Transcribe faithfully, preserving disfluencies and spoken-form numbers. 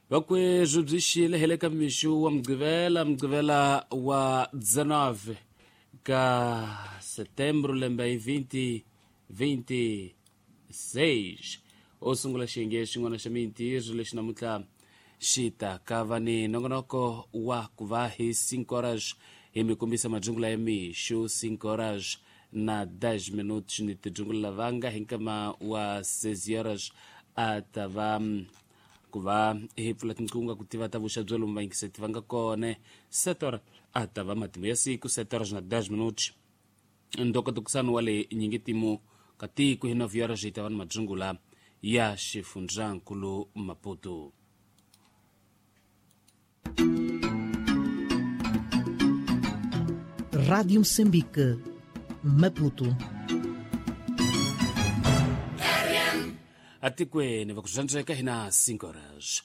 Vakwezwi byi xile hi le ka mixo wa Mugqivela, Mugqivela wa dezenove ka setembro lembe hi vinte vinte seis. O sungula xiyenge xin'wana xa mintirho lexi namuntlha xi ta ka va ni nongonoko wa ku va hi cinco horas hi mi kombisa majungula ya mixo, cinco horas na dez minutos ni tijungula lavanga hi nkama wa seis horas a ta va ku va hi pfula tinqunga ku tiva ta vuxa bya lomu vayingiseti va nga kona. Sete horas a ta va matimu ya siku, sete horas na dez minutos ndokotokusano wa le nyingitimu ka tiko hi nove horas hi ta va ni majungula ya xifundzankulu Maputo. Rádio Moçambique, Maputo. Atikweni va ku zvandzeka hi na cinco horas.